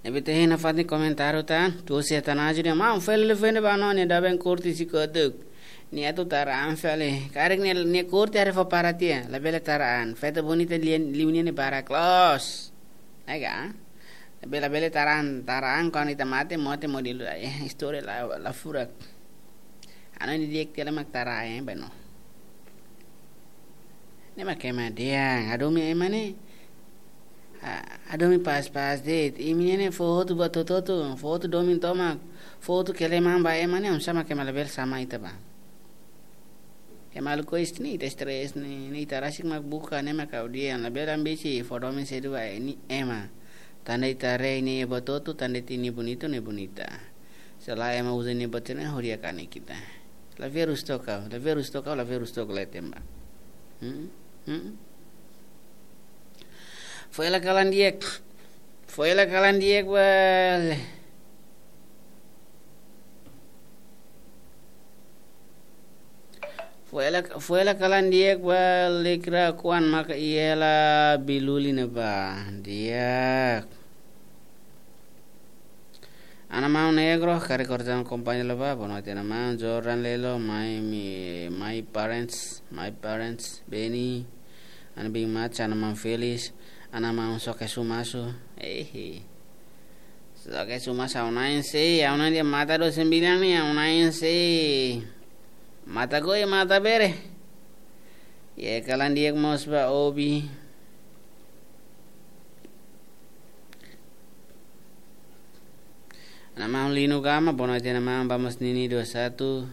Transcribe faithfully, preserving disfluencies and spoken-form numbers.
Ne'ebé ita hein nafatin komentáriu tan, tuur iha tan aju de'it, maun, fali liu fende ba no, nia dada ben kurti si kotuk. Nia atu tara an fali. Karik nia, nia kurti haree fó para tiha, labele tara an. Feto bonita lian, liu nia ne'e barak loos. Ai ka? Labele, labele tara an, tara an kuandu ita mate, mate modelu, ai, istória la, la furak. Ha'u hanoin di'ak tiha mak tara an, eh, ba no. Ne'e mak ema dehan, hadomi ema ne'e. Ah, hadomi pas-pas de'it. Imi ne'e fó hotu buat hotu-hotu, fó hotu domin tomak, fó hotu keleman ba ema ne'e, oinsá mak ema labele sama ita ba. Ema lukis ne'e, ita stress ne'e, ne'e ita rasik mak buka, ne'e mak ha'u dehan, labele ambisi, fó domin sedu ba ema. Tanba ita haree ne'e buat hotu, tanba ita ne'e bonitu, ne'e bonita. Se lae ema uza ne'e buat ne'e, hodi kanek ita. La virus toka, la virus toka, la virus toka la temba. Hmm? Hmm? Fó hela kalan di'ak. Fó hela kalan di'ak bal. Fó hela, fó hela kalan di'ak bal, likra kuan maka iha hela biluli ne'ebá. Di'ak. Ana maun Negro, karik kortan kompañia la ba, boa noite ana maun, Jordan Lelo, my, mi, my parents, my parents, Beni, ana bin Macha, ana maun Felix, ana maun Soke Sumasu, ehe. Soke Sumasu, ha'u-nia na'in sei, ha'u-nia na'in dehan mata dosen bilang ne'e, ha'u-nia na'in sei. Mata goi, mata bere. Iha kalan di'ak mós ba Obi. Ana maun Lino Gama, boa noite, ana maun, vamos Nini dua satu.